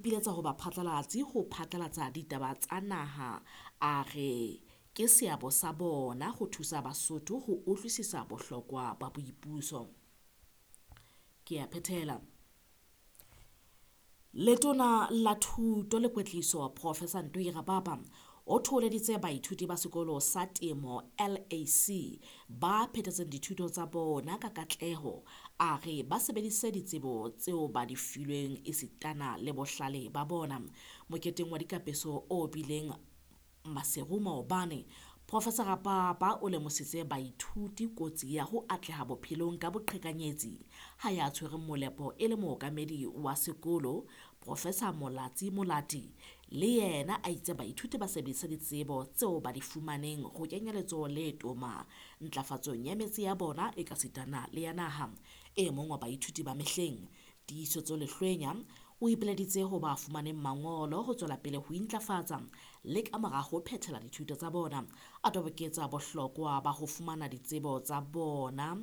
Ipiletsa ho baphatlalatsi ho phatlalatsa ditaba tsa naha, a re ke seabo sa bona ho thusa Basotho ho utlwisisa bohlokwa ba boipuso. Ke a phethela. Letona la Thuto le Kwetliso Professor Ntoi Rapapa o thoholeditse baithuti ba sekolo sa temo LAC ba phethetseng dithuto tsa bona ka katleho. A re ba sebedise ditsebo tseo ba di filweng esitana le bohlale ba bona. Moketeng wa dikapeso o bileng Maseru maobane, Professor Rapapa o lemositse baithuti kotsi ya ho atleha bophelong ka boqhekanyetsi. Ha ya tshwereng molepo e le mookamedi wa sekolo, Professor Molatsi Molati, le yena a itse baithuti ba sebedise ditsebo tseo ba di fumaneng ho kenya letsoho le toma ntlafatsong ya metse ya bona ekasitana le ya naha. E mong wa baithuti ba mehleng, Tiisetso Lehlwenya, o ipileditse ho ba fumaneng mangolo ho tswela pele ho intlafatsa le ka mora ho phethela dithuto tsa bona. A toboketsa bohlokwa ba ho fumana ditsebo tsa bona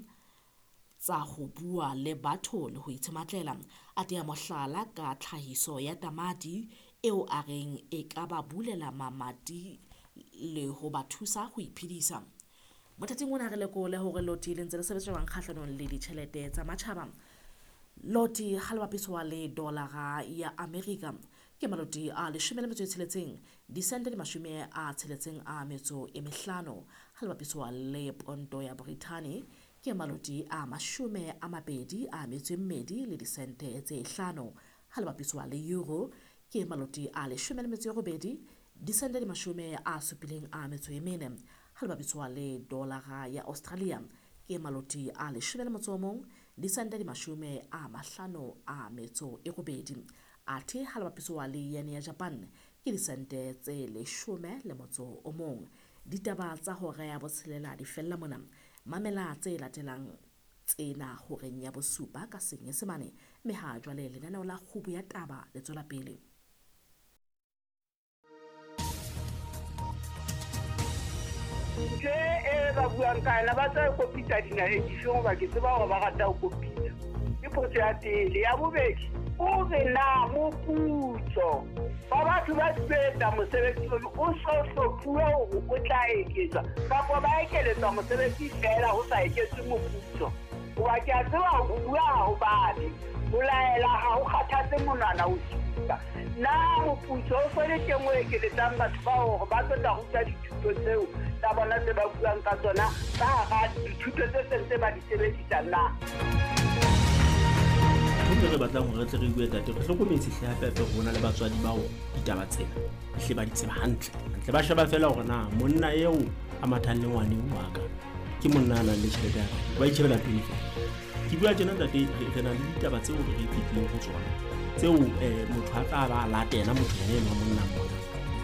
tsa ho bua le batho le ho itshematlela. A tea mohlala ka tlhahiso ya tamati eo a reng e ka ba bulela mamati le ho ba thusa ho iphedisa. Mothating ona re lekole hore loti le ntse le sebetsa jwang kgahlanong le ditjhelete tsa matjhaba. Loti ha le bapiswa le dolara ya Amerika ke maloti a 16 disente di 65. Ha le bapiswa le ponto ya Brithani ke maloti a 22 le disente tse 5. Ha le bapiswa le euro ke maloti a 18 disente di 74. Ha le bapiswa le dolara ya Australia ke maloti a 11 disente di 58. Athe ha le bapiswa le yen ya Japan ke disente tse 11. Ditaba tsa hora ya 6 di fella mona. Mamela tse latelang tsena horeng ya 7 ka Senyesemane, mme ha jwale lenaneo la Kgubu ya Taba le tswela pele. Ntho e ba buang ka yona ba tla kopitsa dinaheng dife hoba ke tseba hore ba rata ho kopitsa. Ke potso ya pele. Ya bobedi, o re na moputso wa batho ba etsa mosebetsi ono o so hlophuwe hore o tla eketswa kapa ba ekeletswa mosebetsi feela ho sa eketswe moputso. Hoba ke a tseba ho bua ha ho babe, ho laela ha ho kgathatse monwana o supa. Na moputso o so le teng o ekeletsang batho bao hore ba tlo tla ruta dithuto tseo tsa bona tse ba buang ka tsona ka hara dithuto tse seng tse ba di sebedisang na? Ntho re batlang hore re tle re bue tate, re hlokometse hle hape hape rona le batswadi bao ditaba tsena hle ba di tseba hantle. Hantle ba sheba fela hore na monna eo a mathang le ngwaneng wa ka ke monna a nang le tjhelete ya ka, ba itjhebela pele fela. Ke bua tjena ntate, re na le ditaba tseo re fetileng ho tsona tseo motho a tla ba latela motho yena enwa monna mona.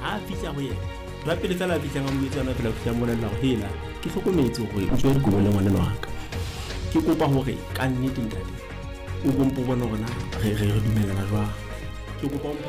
Ha a fihla ho yena, ntho ya pele fela a fihlang a mo etsa yona fela, o fihla a mmolella hore hela ke hlokometse hore o tswe dikobo le ngwaneno wa ka. Ke kopa hore ka nnete ntate o bompo bone hore na re dumellana jwang. Ke kopa o mphe